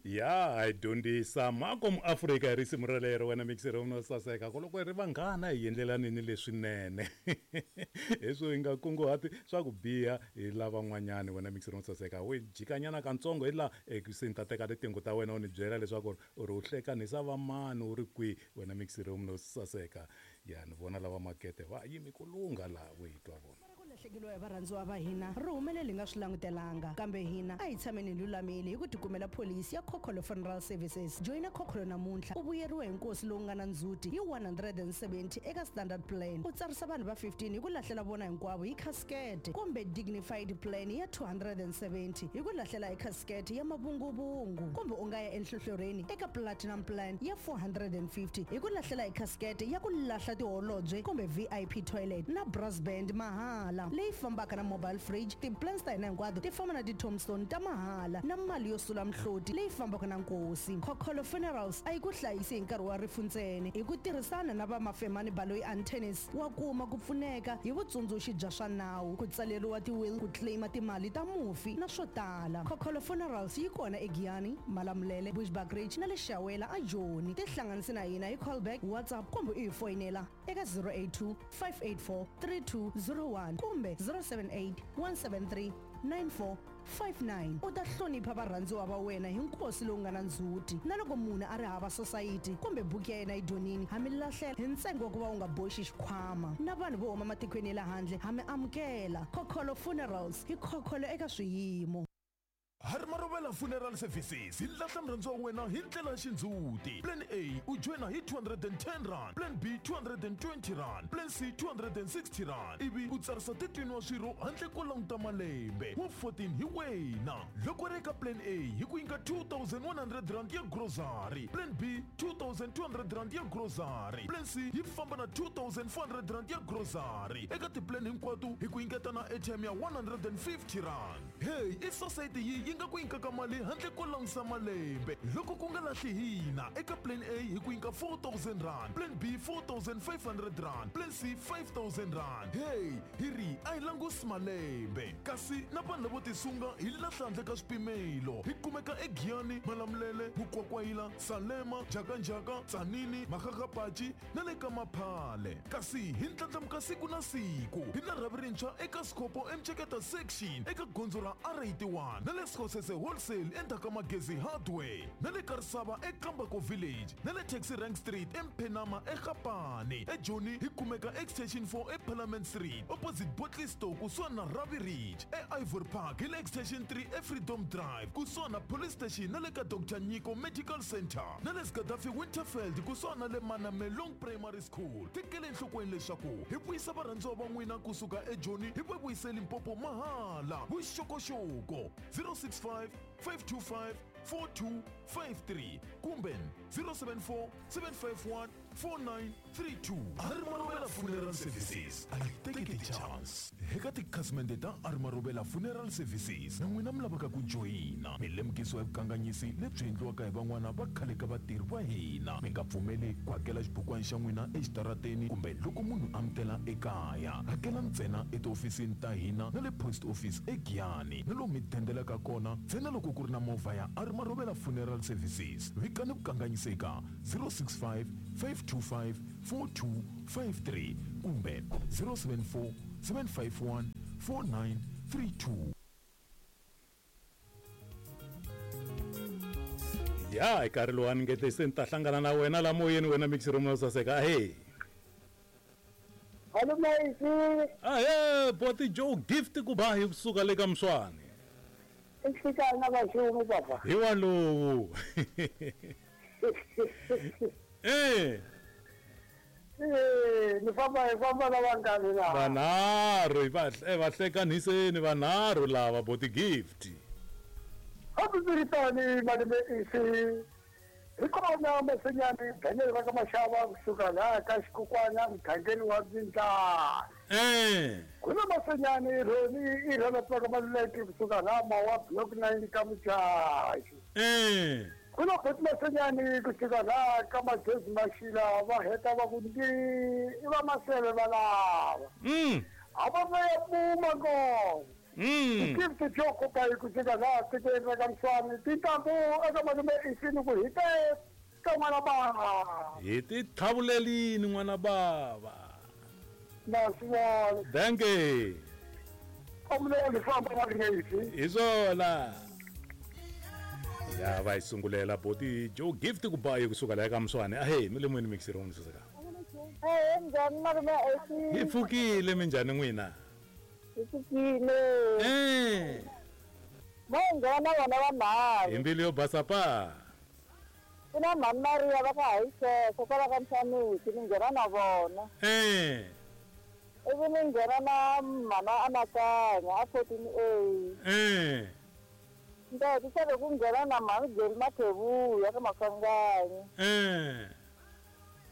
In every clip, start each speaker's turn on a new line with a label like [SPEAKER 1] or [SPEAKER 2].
[SPEAKER 1] Ya hi dyondzisa mako muafrika hi risimu rolero wena mixero no saseka ku loko hi ri vanghana hi endlelanini leswinene leswo hi nga kunguhati swa ku biha hi lavan'wanyani wena mixero no saseka we jikanyana kantsongo hi laha ekuseni ni ta teka titingo ta wena u ni byela leswaku u ri u hlekanisa vamani u ri kwihi wena mixero no saseka ya ni vona lava makete va yimi ku lungha laha we hi twa vona
[SPEAKER 2] Ku lahlekeriwa hi varhandziwa va hina ri humelele hi nga swi langutelanga kambe hina a hi tshameni hi lulamile hi ku tikumela pholisi ya Khokholo Funeral Services. Joyina Khokholo namuntlha u vuyeriwe hi nkosi lowu nga na ndzhuti hi 170 eka Standard Plan, u tsarisa vanhu va 15 hi ku lahlela vona hinkwavo hi khasikete kumbe Dignified Plan ya 270 hi ku lahlela hi khasikete ya mavunguvungu kumbe u nga ya enhlohlorheni eka Platinum Plan ya 450 hi ku lahlela hi khasikete ya ku lahla tiholobye kumbe VIP toilet na brass band mahala leyi fambaka na mobile fridge. Ti-plans ta hina hinkwato ti famba na ti-tombstone ta mahala na mali yo sula mihloti leyi fambaka na nkosi. Khokholo Funerals a yi ku hlayisi hi nkarhi wa rifu ntsena. Hi ku tirhisana na va Mafemani Baloyi Antennis wa kuma ku pfuneka hi vutsundzuxi bya swa nawu, ku tsaleriwa ti-will, ku claim timali ta mufi na swo tala. Khokholo Funerals yi kona eGiyani, Malamulele, Bushbuckridge na le Shawela a Joni. Tihlanganise na hina hi callback, WhatsApp kumbe u hi foyinela eka 082 584 3201 kumbe 078 173 9459. U ta hlonipha varhandziwa va wena hi nkosi lowu nga na ndzhuti. Na loko munhu a ri hava sosayiti kumbe buku ya yena yi dyonini, ha mi lahlela hi ntsengo wa ku va u nga boxi xikhwama. Na vanhu vo huma matikweni ya le handle ha mi amukela. Khokholo Funerals, hi khokholo eka swiyimo.
[SPEAKER 3] Harimarovela Funeral Services hi lahla murhandziwa wa wena hi ndlela ya xindzhuti. Plan A u joyina hi 210 rand, Plan B 220 rand, Plan C 260 rand ivi u tsarisa 13 wa swirho handle ko languta malembe. Wa 14 hi wena. Loko ri eka Plan A hi ku nyika 2100 rand ya grocery, Plan B 2200 rand ya grocery, Plan C yi famba na 2400 rand ya grocery. Eka tiplan hinkwato hi ku nyiketa na airtime ya 150 rand. Hey, i sosayiti yi yi nga ku nyikaka mali handle ko langusa malembe loko ku nga lahli hina eka plan A hi ku nyika 4000 rand, plan B 4500 rand, plan C 5000 rand. Hey, hi ri a hi langusi malembe kasi na vanhu lavo tisunga hi lahla handle ka swipimelo. Hi kumeka eGiyani, Malamulele, Mukwakwayila, Salema, Njhakanjhaka, Tzaneen, Makgakgapachi na le ka Maphale. Kasi hi ndlandlamuka siku na siku hi na rhavi rintshwa eka Sikhopo eMceketa Section eka gondzo ra R81 na le Skhosese Wholesale endzhaku ka Magezi Hardware na le Karisava eKambako Village na le Taxi Rank Street eMphenama eGapane. EJoni hi kumeka Extension 4 eParliament Street opposite Bottle Store kusuhani na Ravi Ridge. EIvory Park hi le Extension 3 eFreedom Drive kusuhani na Police Station na le ka Dr Nyiko Medical Centre na le Gaddafi Winterfeld kusuhani na le Manamelong Primary School. Tekela enhlokweni leswaku hi vuyisa varhandziwa va n'wina kusuka eJoni hi va vuyise Limpopo mahala. Vuxokoxoko 065 525 4253 kumbe 074 751 4932. Arimarovela Funeral Services a yi teki ti-chance. Eka tikhasimende ta Arimarovela Funeral Services na n'wina mi lavaka ku joyina, mi lemukisiwa hi vukanganyisi lebyi endliwaka hi van'wana va khale ka vatirhi va hina. Mi nga pfumeli ku hakela xibukwana xa n'wina exitarateni kumbe loko munhu a mi tela ekaya. Hakela ntsena etihofisini ta hina na le post office eGiyani na lomu mi dendelaka kona ntsena loko ku ri na movha ya Arimarovela Funeral Services. Vikani vukanganyisi eka 065 525 4253 kumbe 074 751 4932.
[SPEAKER 1] Ya hi nkarhi lowu a ni nge se ni ta hlangana na wena la moyeni wena mixi romo saseka ahe.
[SPEAKER 4] Hallo Maisi.
[SPEAKER 1] Ahe boti Joe Gift ku ba hi kusuka le ka Mswani.
[SPEAKER 4] Nhlikana vaxumi papa.
[SPEAKER 1] Hi walowu. Eh.
[SPEAKER 4] Eh, ni famba hi famba na vangani laha.
[SPEAKER 1] Vanharhu hi va va hlekaniseni vanharhu lava boti Gift.
[SPEAKER 4] Hambiswiritano malume isi hi kona Masinyani Daniel va ka Maxava kusuka laha ka Xikukwana mugangeni wa Mbindlana.
[SPEAKER 1] Eh.
[SPEAKER 4] Ku na Masinyani Roni i Ronald va ka Maluleke kusuka laha Mawa Block 9 ka Muchachi.
[SPEAKER 1] Eh.
[SPEAKER 4] Ku na Boti Masinyani kusuka laha ka Magezi Maxila va heta va ku ndi i va Maseve va lava. A va va ya puma kona. Gift Joe Kubayi kusuka laha tikweni ra ka Mswani tintambu eka malume isini ku hi te ka n'wana bava.
[SPEAKER 1] Hi ti tlhavulelini n'wana bava.
[SPEAKER 4] Na swi vona.
[SPEAKER 1] Dankie.
[SPEAKER 4] Amuleli famba va ri
[SPEAKER 1] Hi swona. Ya va hi sungulela boti Joe Gift Kubayi kusuka laha ka Mswani. Ahee, mi le moyeni mixer wa saseka.
[SPEAKER 5] Eh, njhani malume Esi?
[SPEAKER 1] Hi pfukile minjhani n'wina?
[SPEAKER 5] Hi pfukile.
[SPEAKER 1] Eh.
[SPEAKER 5] Mo nghena vona vanharhu.
[SPEAKER 1] Hi mbilu yo basa pa.
[SPEAKER 5] Ku na mhani Maria va ka Hayisesa kwala ka Mhlaniki ni nghena na vona.
[SPEAKER 1] Eh.
[SPEAKER 5] Ivi ni nghena na mhana Anakanya a 14A.
[SPEAKER 1] Eh.
[SPEAKER 5] Ni ta hetisela hi ku nghena na mhani Geri Mathevuya ka Maswanganyi.
[SPEAKER 1] Eh.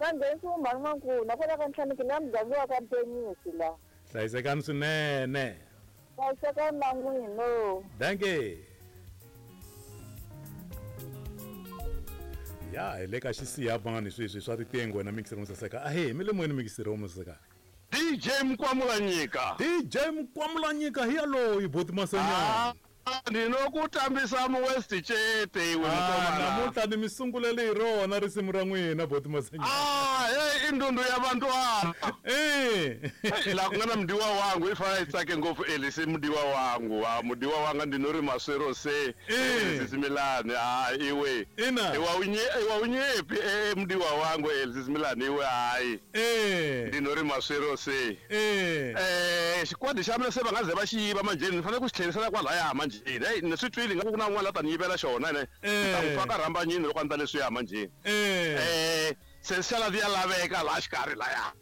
[SPEAKER 5] Va nghenisiwe mhani N'wankuna kwala ka Nhlaniki la muganga wa ka Mpenyisi la.
[SPEAKER 1] Hlayisekani swinene.
[SPEAKER 5] Hlayisekani na n'wina.
[SPEAKER 1] Dankie. Ya hi le ka xisiyavani sweswi swa riqingho wena mixer musaseka. Ahee, mi le moyeni mixer musaseka.
[SPEAKER 6] DJ Mkwamulanyika.
[SPEAKER 1] DJ Mkwamulanyika hi yaloyi boti Masenyana.
[SPEAKER 6] Ndinoku tambisa mu West Chete iwe mkomana.
[SPEAKER 1] Namuntlha ni mi sungulele hi rona risimu ra n'wina boti Masenyana.
[SPEAKER 6] Hey indundu ya bantwana.
[SPEAKER 1] Eh.
[SPEAKER 6] La ku nga na mudiwa wangu i fanele yi tsake ngopfu Elisi mudiwa wangu. Mudiwa wanga ndinori maswero se. Elisi Similani iwe.
[SPEAKER 1] Ina.
[SPEAKER 6] Iwa unye iwa unyepi mudiwa wangu Elisi Similani iwe hayi.
[SPEAKER 1] Eh.
[SPEAKER 6] Ndinori maswero se.
[SPEAKER 1] Eh.
[SPEAKER 6] Xikwadi xa mina se va nga ze va xi yiva manjheni ni fanele ku xi tlherisela kwalaya manjheni. Hey ni swi twile nga ku na un'wana la ta ni yivela xona ne. Ni ta n'wi faka rhambanyini loko a ndla leswiya manjheni. Se xala ya laveka laha xikarhi laya.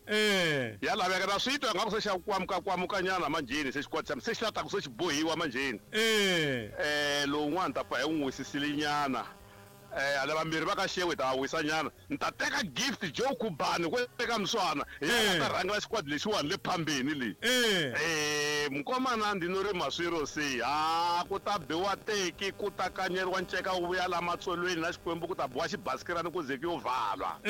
[SPEAKER 6] Ya laveka na swi twa nga ku se xa kwamuka kwamukanyana manjheni se xikwadi xa mina se xi lata ku se xi bohiwa manjheni. Lowun'wana ta pfa hi n'wi wisisile nyana. Ala vambirhi va ka xewe ta wisa nyana. Ni ta teka Gift Joe Kubani ku eka Mswana. Hi yena ta rhangela xikwadi lexiwani le phambeni le. Mkomana ndinori maswiro se. Ku ta biwa teki ku ta kanyeriwa nceka wu vuya la matsolweni na Xikwembu ku ta biwa xibasikirani ku ze ku yo valwa.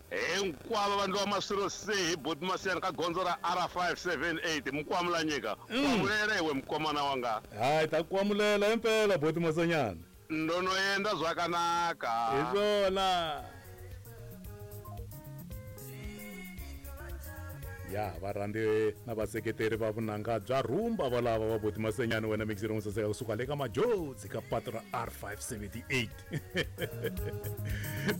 [SPEAKER 6] Hinkwavo vanhu va maswiro se hi boti Masiyana ka gondzo ra R578 Mkwamulanyika. Kwamulela iwe mkomana wanga.
[SPEAKER 1] Hayi ta kwamulela impela boti Masanyana.
[SPEAKER 6] Ndono yenda zvakanaka.
[SPEAKER 1] Hi swona. Ya varhandzi na vaseketeri va vunanga bya rhumba valava va boti Masenyana wena mixer musaseka kusuka le ka Majotsi ka patu ra R578.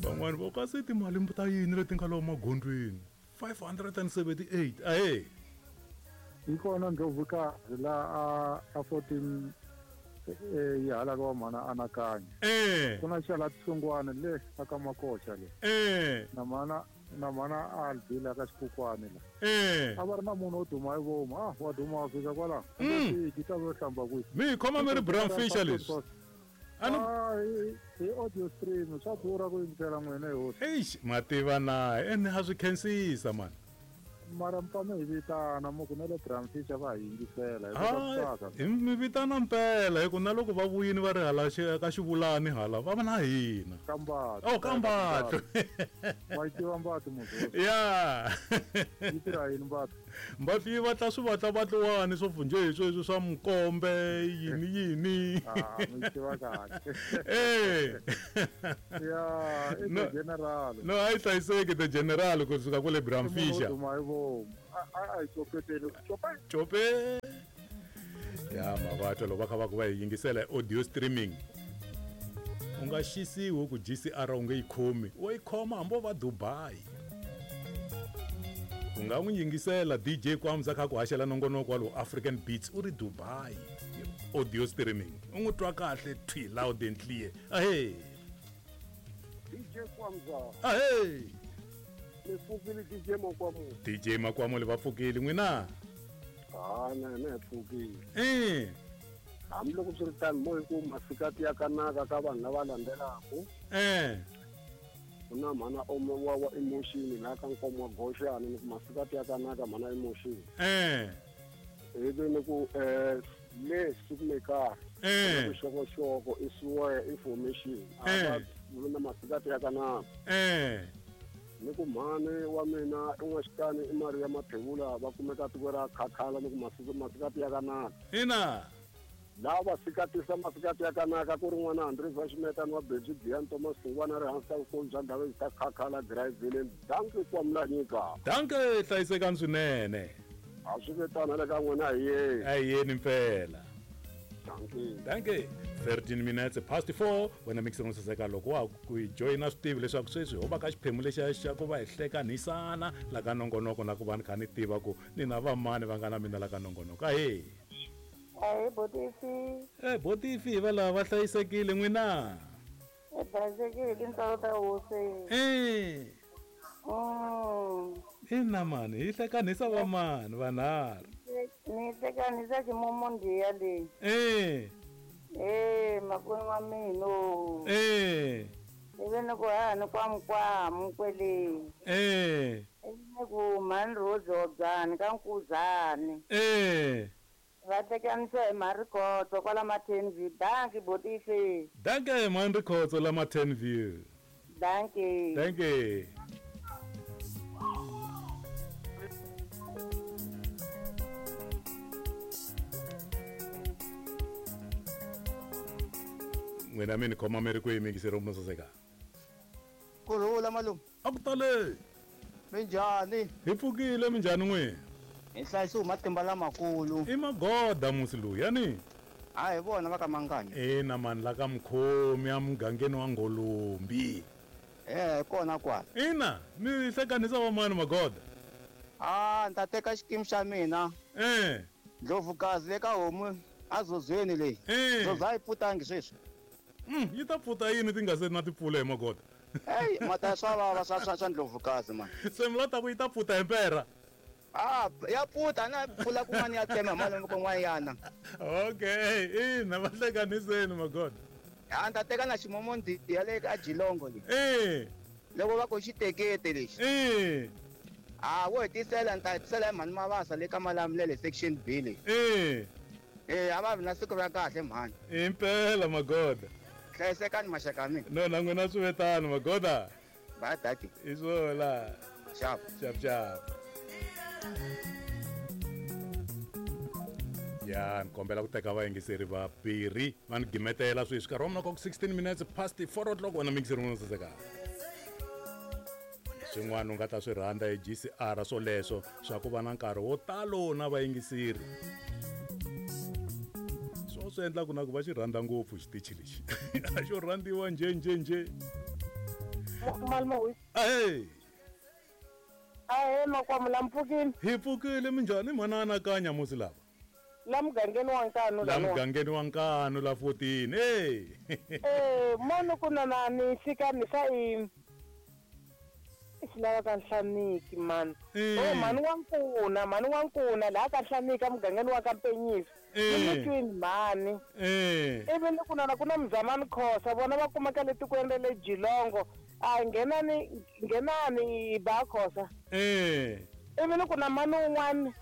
[SPEAKER 1] Van'wani va kasi timali ta yini leti nga lomu magondweni 578. Ahee.
[SPEAKER 4] Hi kona Ndlovukazi la a 14 yi hala ka mhana Anakanya. Ku na xala tsungwana le aka Makoxa le. Na mhana Albila ka Xikukwani la. A va ri na munhu wo duma hi vomu. Wa duma wa fika kwala. Ki ta vo hlamba kwihi.
[SPEAKER 1] Mi khoma mi ri Bram Fischer leswi.
[SPEAKER 4] Hi audio stream swa durha ku yingisela n'wina hi hosi.
[SPEAKER 1] Eish, mativa na ene ha swi khensisa man.
[SPEAKER 4] Mara mpame hi vitana mo ku na le Bram Fischer va hi yingisela
[SPEAKER 1] hi mi vitana mpela hi ku na loko va vuyini va ri hala ka xivulani hala va va na hina.
[SPEAKER 4] Kambatlo.
[SPEAKER 1] Oh Kambatlo.
[SPEAKER 4] Wa yi tiva Mbatlo muthu.
[SPEAKER 1] Ya.
[SPEAKER 4] Yi tirha yini Mbatlo?
[SPEAKER 1] Mbatlo yi vatla swi vatlavatliwani swo njhe sweswi swa mukombe yini yini.
[SPEAKER 4] Mi tiva kahle. Ya, i the general.
[SPEAKER 1] No, a yi hlayiseki the general kusuka kwale Bram Fischer.
[SPEAKER 4] A copeteni
[SPEAKER 1] Chope. Ya mavatwa loko va kha va ku va hi yingisela audio streaming. U nga xisiwi ku GCR u nge yi khomi. Wa yi khoma hambi va Dubai. U nga n'wi yingisela DJ Kwamza kha ku haxela nongonoko wa lo African Beats u ri Dubai. Audio streaming. U n'wi twa kahle thwi loud and clear. Ahee.
[SPEAKER 4] DJ Kwamza.
[SPEAKER 1] Ahee.
[SPEAKER 4] Ni pfukile DJ Makwamule.
[SPEAKER 1] DJ Makwamule va pfukile n'wina?
[SPEAKER 4] Na na pfukile. Hambiloko swi ri tano mo hi ku masikati ya kanaka ka vanhu lava landzelaka. Ku na mhana wa emotion la ka nkomo wa goxani ni ku masikati ya kanaka mhana emotion. Ivi ni ku le sikumekaka. Vuxokoxoko i swear information. A va na masikati ya kanaka. Ni ku mhani wa mina i n'waxitani i Maria Mathebula va kumeka tiko ra Khakhala ni ku masikati ya kanaka.
[SPEAKER 1] Ina.
[SPEAKER 4] Lava va sikatisa masikati ya kanaka ku ri n'wana Andres wa Ximetani wa Benji Giyani Thomas Hlungwana ri hansi ka vukulu bya Ndhavezitha ta Khakhala Driving. Dankie Kwamulanyika.
[SPEAKER 1] Dankie, hlayisekani swinene.
[SPEAKER 4] A swi vitana le ka n'wina hi yeni.
[SPEAKER 1] A hi yeni mpela.
[SPEAKER 4] Dankie.
[SPEAKER 1] Dankie. 13 minutes past 4 wena mixer no saseka loko wa ku hi joyina swi tivi leswaku sweswi ho va ka xiphemu lexiya xa ku va hi hlekanisana la ka nongonoko na ku va ni kha ni tiva ku ni na vamani va nga na mina la ka nongonoko. Ahee.
[SPEAKER 5] Ahee, Botifi.
[SPEAKER 1] Eh, Botifi hi va lava va hlayisekile n'wina.
[SPEAKER 5] Hi hlayisekile hi tintswalo ta hosi.
[SPEAKER 1] Eh. Ina mani, hi hlekanisa vamani vanharhu.
[SPEAKER 5] Ni hlekanisa ximumundiya leyi.
[SPEAKER 1] Eh.
[SPEAKER 5] Eh, makwenu wa mina.
[SPEAKER 1] Eh.
[SPEAKER 5] Ivi ni ku ha ni kwamukwamu kwele.
[SPEAKER 1] Eh.
[SPEAKER 5] Ivi ni ku mhani Rose Hobyani ka Nkuzani.
[SPEAKER 1] Eh.
[SPEAKER 5] Va hlekanisa hi mhani Rikhotso kwala ma-Ten View. Dankie Botifi.
[SPEAKER 1] Dankie mhani Rikhotso la ma-Ten View.
[SPEAKER 5] Dankie.
[SPEAKER 1] Dankie. N'wina mi ni khoma mi ri kwihi miyingiseri wa saseka?
[SPEAKER 7] Kurhula malume.
[SPEAKER 1] A ku tale.
[SPEAKER 7] Minjhani?
[SPEAKER 1] Hi pfukile, minjhani n'wina?
[SPEAKER 7] Hi hlayisiwe hi matimba lamakulu.
[SPEAKER 1] I magoda musi lowu yani.
[SPEAKER 7] A hi vona va ka Manganya.
[SPEAKER 1] Ina mani la ka Mukhomi emugangeni wa Ngolombi.
[SPEAKER 7] Eh, kona kwala.
[SPEAKER 1] Ina, mi hlekanisa vamani magoda?
[SPEAKER 7] Ah, ni ta teka xikimu xa mina.
[SPEAKER 1] Eh.
[SPEAKER 7] Ndlovukazi le ka homu azozweni leyi.
[SPEAKER 1] Eh.
[SPEAKER 7] Ndlovu a yi pfutangi sweswi.
[SPEAKER 1] Yi ta pfuta yini ti nga se na timpfula hi magoda?
[SPEAKER 7] Hey, mata swa vava swa Ndlovukazi man.
[SPEAKER 1] Se mi la ta ku yi ta pfuta hi mpera?
[SPEAKER 7] Ah, ya pfuta na pfula kun'wana ya tsema malume kun'wana yana.
[SPEAKER 1] Okay, ina va hlekaniseni magoda.
[SPEAKER 7] Ha ni ta teka na ximomondiya le ka Jilongo leyi.
[SPEAKER 1] Eh.
[SPEAKER 7] Loko va ku xitekete lexi.
[SPEAKER 1] Eh.
[SPEAKER 7] Ah, wo hetisela ni ta hetisela hi mhani Mavasa le ka Malamulele section B leyi.
[SPEAKER 1] Eh.
[SPEAKER 7] Eh, a va vi na siku ra kahle mhani.
[SPEAKER 1] Impela magoda.
[SPEAKER 7] Hlayisekani maxaka ya mina.
[SPEAKER 1] No na n'wina swi ve tano magoda.
[SPEAKER 7] Bye daddy.
[SPEAKER 1] I swona.
[SPEAKER 7] Xap.
[SPEAKER 1] Xap xap. Ya, ni kombela ku teka vayingiseri vambirhi va ni gimetela sweswi nkarhi wa mina ku 16 minutes past 4 o'clock wena miyingiseri n'wina saseka. Swin'wana u nga ta swi rhandza hi GCR swoleswo swa ku va na nkarhi wo talo na vayingiseri. Swo swi endlaku na ku va xi rhandza ngopfu xitichi lexi. A xo rhandziwa nje nje nje.
[SPEAKER 5] Malume.
[SPEAKER 1] Ahee.
[SPEAKER 5] Ahee makwamu la mpfukile.
[SPEAKER 1] Hi pfukile minjhani mhana anakanya musi lava?
[SPEAKER 5] La mugangeni wa Nkanu
[SPEAKER 1] La mugangeni wa Nkanu la 14. Hey.
[SPEAKER 5] Eh, mono ku na ni fika ni sa i xilava ka Nhlaniki mani. Oh mhani wa Nkuna laha ka Nhlaniki emugangeni wa ka Mpenyisi. Ni twini mhani. Ivi ni ku na ku na Mzamani Khosa vona va kumeka le tikweni ra le Jilongo. A nghenani ba Khosa. Ivi ni ku na mhani un'wana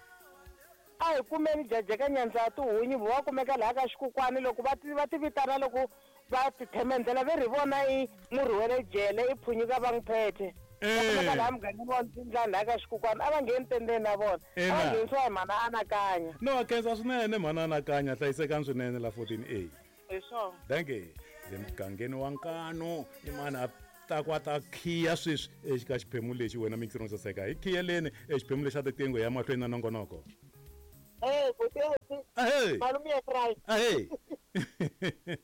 [SPEAKER 5] a hi kumeni jajeka nyandza ya tihunyi vo va kumeka laha ka xikukwani loko va ti vitana loko va ti themendela ve ri vona i murhi wa le jele i phunyuka va n'wi phethe. Va kumeka laha mugangeni wa Ndzindlani laha ka xikukwani a va ngheni tendeni na vona. A va nghenisiwa hi mhana anakanya.
[SPEAKER 1] No a khensa swinene mhana anakanya hlayisekani swinene la 14A.
[SPEAKER 5] Hi swona.
[SPEAKER 1] Dankie. Le mugangeni wa Nkanu i mani a ta ku a ta khiya sweswi eka xiphemu lexi wena mixer no saseka. Hi khiyeleni exiphemu lexi xa tiqingho ya mahlweni na nongonoko.
[SPEAKER 5] Eh, Boteti.
[SPEAKER 1] Ahee.
[SPEAKER 5] Malume ya Christ.
[SPEAKER 1] Ahee.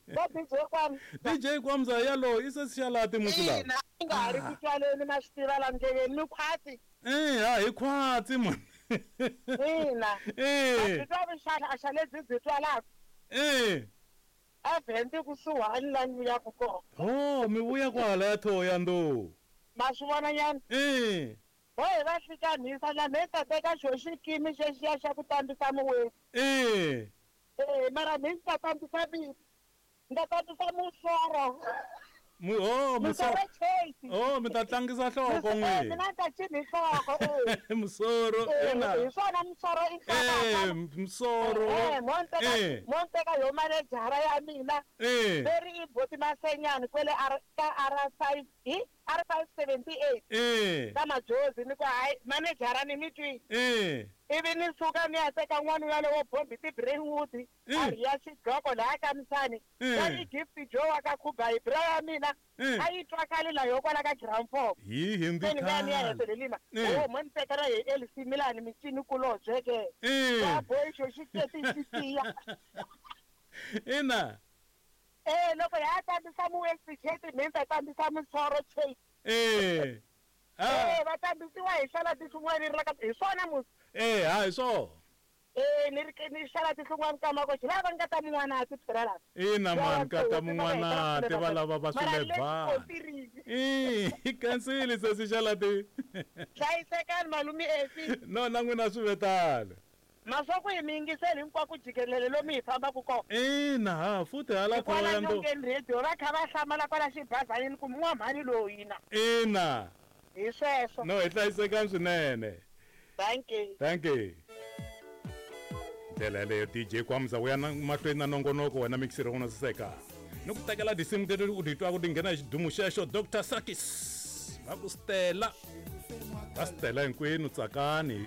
[SPEAKER 5] Va DJ Kwamza.
[SPEAKER 1] DJ Kwamza yalo i se xalati musi lava.
[SPEAKER 5] Ina, nga ha ri ku twaleni ma swi tiva la ndleleni ni khwatsi.
[SPEAKER 1] Eh, ha hi khwatsi man.
[SPEAKER 5] Ina.
[SPEAKER 1] Eh.
[SPEAKER 5] Byi twa vuxaxa xa lebyi byi twalaka.
[SPEAKER 1] Eh.
[SPEAKER 5] A vhende kusuhani la ni vuyaka kona.
[SPEAKER 1] Oh, mi vuya kwala ya Thohoyandou.
[SPEAKER 5] Ma swi vona nyana?
[SPEAKER 1] Eh.
[SPEAKER 5] Ho hi va hlikanisa la me ta teka xo xikimi xexiya xa ku tambisa muwesi.
[SPEAKER 1] Eh.
[SPEAKER 5] Eh, mara mi ta tambisa vito. Ni ta tambisa musoro.
[SPEAKER 1] Oh,
[SPEAKER 5] Musoro Chase.
[SPEAKER 1] Oh, mi ta tlangisa nhloko n'we.
[SPEAKER 5] Mina ni ta cina hi nhloko eh.
[SPEAKER 1] Musoro ina.
[SPEAKER 5] Hi swona Musoro i
[SPEAKER 1] nhloko. Eh, Musoro.
[SPEAKER 5] Eh, mo nteka mo nteka yo manejara ya mina.
[SPEAKER 1] Eh.
[SPEAKER 5] Veri i boti Masenyani kwele R ka R5 hi R578.
[SPEAKER 1] Eh.
[SPEAKER 5] Ka Majozi ni ku hayi manejara ni mi twi.
[SPEAKER 1] Eh.
[SPEAKER 5] Ivi ni suka ni ya teka n'wana yalowo bombi ti-Brainwood a ri ya xidloko laha ka Misani. Ya i Gift Joe wa ka Khubayi bra ya mina a yi twakali la yo kwala ka ground 4.
[SPEAKER 1] Hi hindi
[SPEAKER 5] Se ni nga ni ya
[SPEAKER 1] khale.
[SPEAKER 5] hetelelima. Oh mo ni teka ra hi Elsie Milani mincini kulobye ke. Ya boy xo xi teti xi tiya.
[SPEAKER 1] Ina.
[SPEAKER 5] Eh loko ya tambisa mu West Chat mi ta tambisa Musoro Chase.
[SPEAKER 1] Eh.
[SPEAKER 5] Eh va tambisiwa hi xala tinhlungwana ri ka hi swona musi.
[SPEAKER 1] Eh ha hi swona.
[SPEAKER 5] Eh ni ri ni xala tinhlungwana ka mako xi lava nga ta mun'wana ti phela la.
[SPEAKER 1] Ina man ka ta mun'wana ti va lava va
[SPEAKER 5] swilebana.
[SPEAKER 1] Eh kansili se si xala ti.
[SPEAKER 5] Hlayisekani malume Efi.
[SPEAKER 1] No na n'wina swi vetalo.
[SPEAKER 5] Maswaku hi mi yingiseli hinkwako jikelele lomu hi fambaka kona.
[SPEAKER 1] Ina ha futhi hala
[SPEAKER 5] Kwala
[SPEAKER 1] Thohoyandou.
[SPEAKER 5] nyongeni radio va kha va hlamala kwala xibazanini ku n'wamhani loyi na.
[SPEAKER 1] Ina.
[SPEAKER 5] Hi sweswo.
[SPEAKER 1] No hi hlayisekani swinene.
[SPEAKER 5] Thank you.
[SPEAKER 1] Thank you. Ndlela yaleyo DJ Kwamza u ya mahlweni na nongonoko wena mixer wona saseka. Ni ku tekela tinsimu teti u ti twaka ti nghena hi xidumu xexo Dr Sakis. Va ku Stella. Va Stella hinkwenu tsakani.